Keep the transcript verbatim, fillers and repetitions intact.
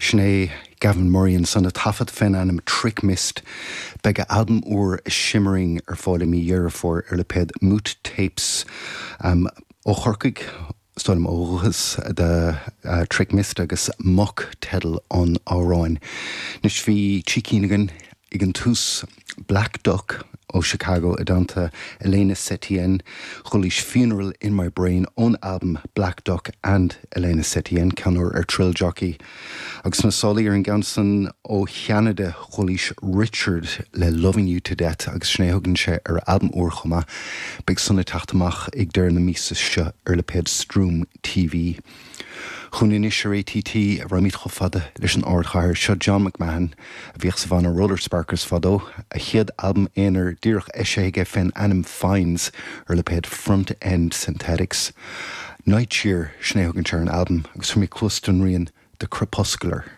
Sin é Gavin Murray ansan a taifead fén ainm Trick Mist. Beidh a albam úr Shimmering ar fáil i mí Dheireadh Fómhair ar lipéad Moot Tapes um, ó Chorcaigh Stolim ó dhúchas de uh, Trick Mist agus Muck teideal an amhráin. Anois bhí trí cinn againn ag an tús Black Duck ó Chicago i dteannta Elena Setien, chualaís Funeral in My Brain ón album Black Duck and Elena Setien ceann úr ar Trill Jockey. Agus na sálaí ar an gceann san ó Cheanada chualaís Richard le Loving You to Death agus sin é thugann sé ar albam úr chomh maith, beidh san ag teacht amach ag deireadh na míosa seo ar lipéad Stroom TV. Chugainn anois ar ATT raghaimid chomh fada leis an ardchathair seo John McMahon a bhíodh sa bhanna Roller Sparkers fadó a chéad albam aonair díreach eisithe aige fén ainm Fines ar lipéad Front End Synthetics. Night Cheer sin é thugann sé ar an albam agus mé clus don rian The Crepuscular.